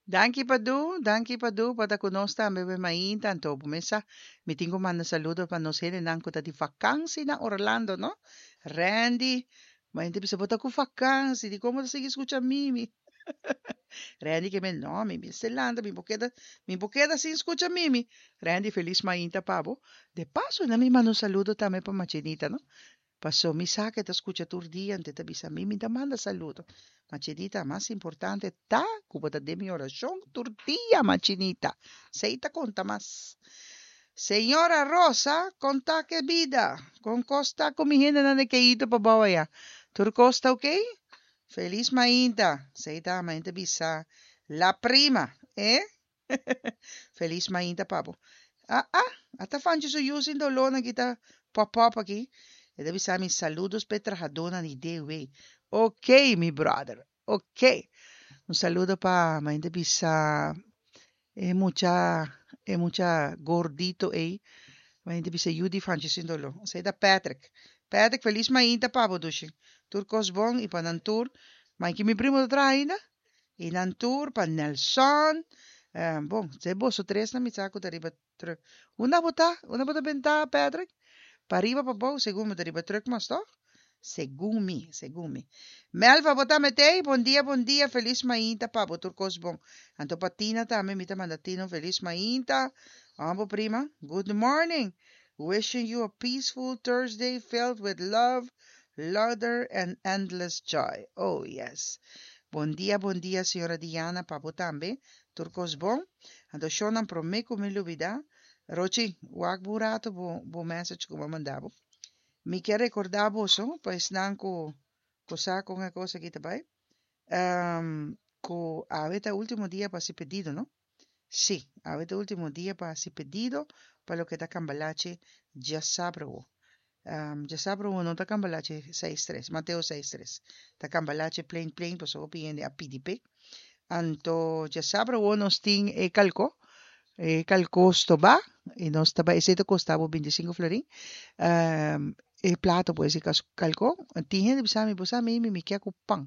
Danki Padu, danki Padu pa ta ku nos tambe be mainta. Anto bo mesa mi tin ku manda saludo pa nos hendenan ku ta di vakansi na Orlando, no? Randy, ma hende bisa bo ta ku vakansi, di kon bo ta sigui skucha Mimi? Randy ke men, no, mi mester lanta, mi por keda, mi por keda sin skucha Mimi. Randy, felis mainta pa bo. De paso, na mi manda un saludo tambe pa Machenita, no? Paso mi sa ke ta skucha tur dia, ante ta bisa mi, mi ta manda saludo. Machenita, mas importante ta ku bo ta den mi orashon tur dia, Machenita. Sei ta konta mas. Señora Rosa, konta ke bida. Kon kos ta ku mi hendenan de Keito pa bou aya? Tur kos ta oké? Felis mainta. Sei ta, mainta bisa la prima, eh? Felis mainta pa bo. Ah, ah, ata Fanchi su yu sin dolónan ki ta pop pop aki. E ta bisa mi saludos p'e trahadónan di DW. Ok, mi brother. Ok. Un saludo pa mainta bisa e mucha e mucha gordito ei. Mainta bisa yu di Fanchi sin doló. Esei ta Patrick. Patrick, felis mainta pa bo, dushi. Tur kos bon i pa nan tur. Maiki mi primo ta traha ainda? I nan tur pa Nelson. Bon, se boso tres na mi sa ku ta riba truck. Unda bo ta? Unda bo ta benta, Patrick? Pa riba pa bou, segun mi ta riba truck mas, toch? Segun mi, segun mi. Melva, bo ta metei? Bon dia, bon dia. Felis mainta pa bo, tur kos bon. Anto pa Tina tambe, mi ta manda Tina un felis mainta. Amo prima, good morning. Wishing you a peaceful Thursday filled with love, laughter and endless joy. Oh, yes. Bon dia, bon dia, señora Diana, pa bo tambe. Tur kos bon. Anto shownan promé ku mi lubidá. Rochi, wak bo un rato bo, bo message ku mi a manda bo. Mi ke rekordá boso, pa esnan ku, ku sa kon e kos aki ta bai, ku awe ta último dia pa hasi pedido, no? Sí, awe ta último dia pa hasi pedido pa loke ta Cambalache djasabra awo. Djasabra awo no ta Cambalache 6-3, Mateo 6-3. Ta Cambalache plain plain pasobra hopi hende a pidi p'e. Anto djasabra awo nos tin e kalko, e kalko stobá i nos ta bai, esei ta kosta bo 25 florin. E plato pues e kalko. Tin hende bisa mi, bo sa mi mi ke ku pan.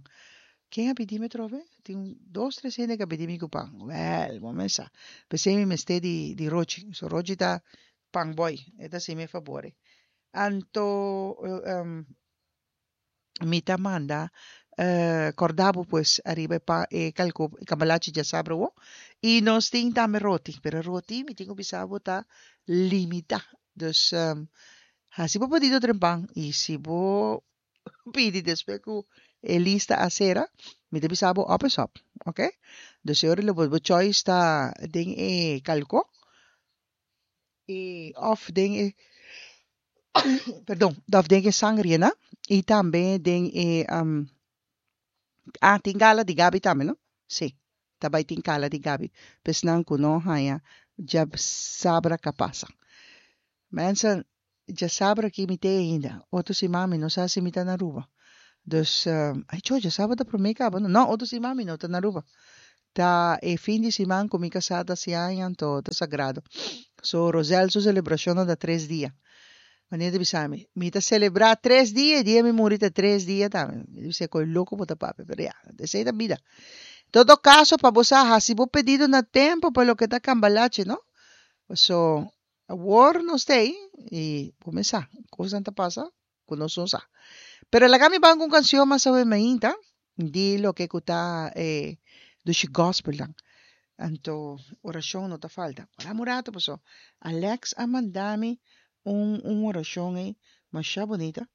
Ken a pidi mi atrobe? Tin dos, tres hende ku a pidi mi ku pan. Wèl, bo mes sa. P'esei mi mester di di Rochi. So Rochi ta pan boy. E ta hasi mi e fabor ei. Anto mi ta manda kòrda bo pues ariba e pan e kalko e kambalachi djasabra awor. I nos tin tambe roti, pero roti mi tin ku bisa bo ta limitá. Dus hasi bo pedido trempan i si bo pidi despues ku e lista a sera, mi ta bisa bo op is op, ok? Dus e ora lo bo choice ta den e kalko i of den e perdon, of den e sangrianan i tambe den e ah tin gala di Gabi tambe no? Si, ta bai tin gala di Gabi pa esnan ku no haña djasabra ka pasa. Mensen, djasabra aki mi te ainda. Otro siman mi no sa si mi ta na Aruba. Dus, ay cho, djasabra ta prome kaba no? No, otro siman mi no ta na Aruba. Ta e fin di siman ku mi kasá ta hasi aña, anto ta sagrado. So, Rosel su selebrashonnan ta tres dia. Manera ta bisa mi, mi ta selebrá tres dia i dia mi muri ta tres dia tambe. Mi ta bisa koe loko bo ta papia, pero ya, esei ta bida. Todo kaso pa bo sa hasi bo pedido na tempu pa loke ta kambalache, no? Paso Awor nos ta ei i bo mes sa, kosnan ta pasa ku nos no sa. Pero laga mi ban ku un kanshon mas awe mainta di loke ku ta e dushi gospelnan. Anto orashon no ta falta. Wak un rato paso Alex a manda mi un un orashon ei masha bunita.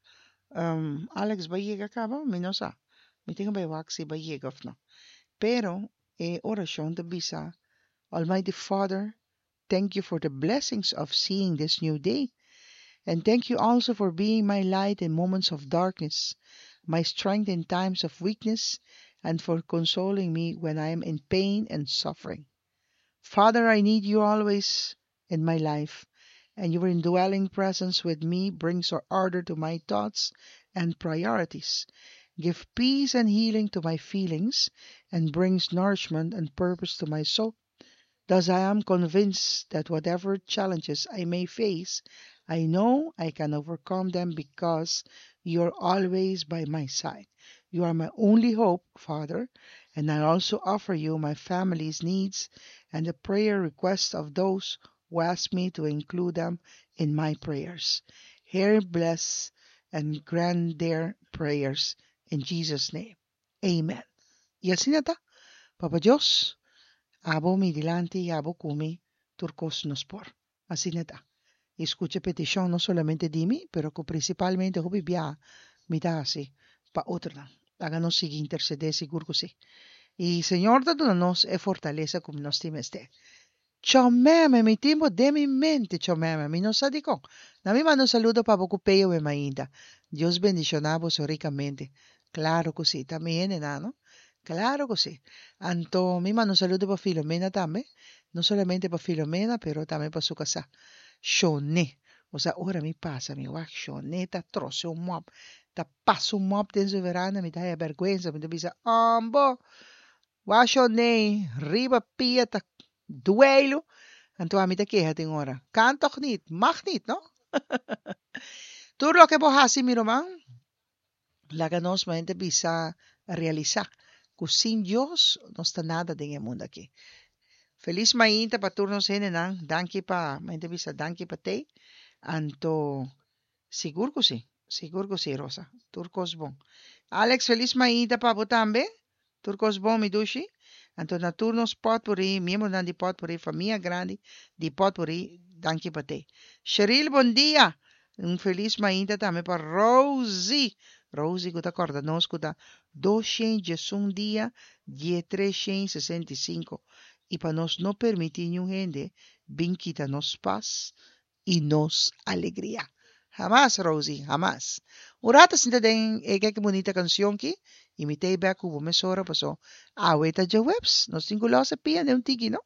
Alex bo a yega kaba? Mi no sa. Mi tin ku bai wak si bo a yega òf no. Pero e orashon ta bisa, Almighty Father, Thank you for the blessings of seeing this new day. And thank you also for being my light in moments of darkness, my strength in times of weakness, and for consoling me when I am in pain and suffering. Father, I need you always in my life, and your indwelling presence with me brings order to my thoughts and priorities. Give peace and healing to my feelings, and brings nourishment and purpose to my soul. Thus I am convinced that whatever challenges I may face, I know I can overcome them because you're always by my side. You are my only hope, Father, And I also offer you my family's needs and the prayer requests of those who ask me to include them in my prayers. Hear, bless, and grant their prayers in Jesus' name. Amen. I asina ta, Papa Dios, abo mi dilanti i abo ku mi, tur kos nos por. Asina ta. I skucha petishon no solamente di mi, pero ku prinsipalmente hopi biaha mi ta hasi pa otronan. Laga nos sigui intersedé, sigur ku sí. I Señor ta duna nos e fortalesa ku nos tin mester. Chomeme, mi tin bo den mi mente, Chomeme, mi no sa dikon. Na mi manda un saludo pa bo ku Peyo we mainta. Dios bendishoná boso rikamente. Klaro ku sí, ta mi hendenan, no? Klaro ku sí. Anto mi manda un saludo pa Filomena tambe, no solamente pa Filomena, pero tambe pa su kasá, Shone. Osea, ora mi pasa, mi wak Shone ta trose un mòp, ta pasa un mòp den su veranda, mi ta haya bèrgwensa, mi ta bisa, Ombo! Wak Shone riba pia ta dueilu. Anto ami ta keha tin ora, Kan tòg nit, mag nit, no? Tur loke bo hasi, mi ruman, Laga nos mente bisa realisá ku sin Dios nos ta nada den e mundu aki. Felis mainta pa tur nos hendenan. Danki pa mente bisa danki pa tei. Anto sigur ku si, sigur ku si Rosa. Tur kos bon. Alex felis mainta pa bo tambe. Tur kos bon mi dushi. Anto na tur nos potpourri, miembronan di potpourri, famia grandi di potpourri, danki pa te. Sheril bon dia! Un felis mainta tambe pa Rosie. Rosie ku ta kòrda nos ku ta 211 dia die 365 i pa nos no permití niun hende bin kita nos pas i nos alegria. Hamas, Rosie, hamas. Un rato sinta den e keke bunita kansion ki i mi tei bek ku bo mesora paso awe ta djaweps, nos tin ku lòs e pia den un tiki, no?